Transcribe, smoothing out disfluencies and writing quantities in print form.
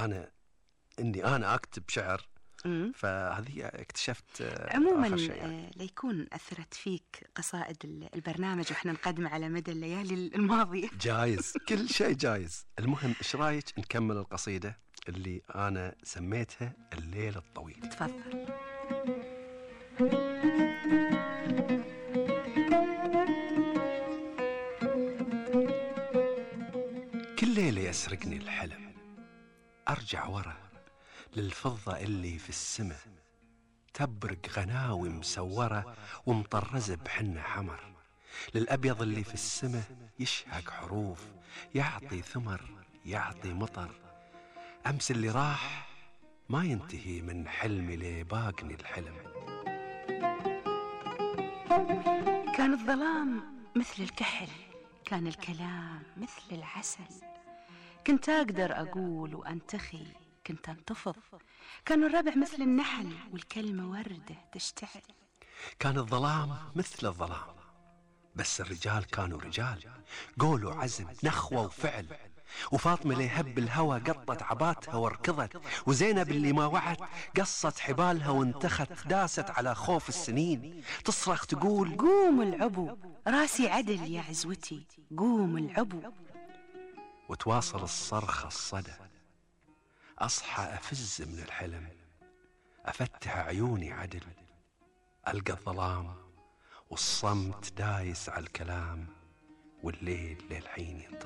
أنا أكتب شعر. فهذه اكتشفت عموما آخر شيء يعني. ليكون أثرت فيك قصائد البرنامج وإحنا نقدم على مدى الليالي الماضية. جايز، كل شيء جايز. المهم إيش رايك نكمل القصيدة اللي أنا سميتها الليل الطويل؟ تفضل. كل ليلة يسرقني الحلم، أرجع ورا للفضة اللي في السماء، تبرق غناوي مسورة ومطرزة بحنة حمر، للأبيض اللي في السماء يشهق حروف، يعطي ثمر يعطي مطر. أمس اللي راح ما ينتهي من حلمي لباقني الحلم. كان الظلام مثل الكحل، كان الكلام مثل العسل، كنت أقدر أقول وأنتخي، كنت أنتفض. كان الربع مثل النحل والكلمة وردة تشتعل. كان الظلام مثل الظلام، بس الرجال كانوا رجال، قول وعزم نخوة وفعل. وفاطمة اللي هب الهوى قطت عباتها وركضت، وزينب اللي ما وعت قصت حبالها وانتخت، داست على خوف السنين تصرخ تقول قوم العبو راسي عدل يا عزوتي، قوم العبو. وتواصل الصرخة الصدى، أصحى أفز من الحلم، أفتح عيوني عدل، ألقى الظلام والصمت دايس على الكلام، والليل للحين ينتظر.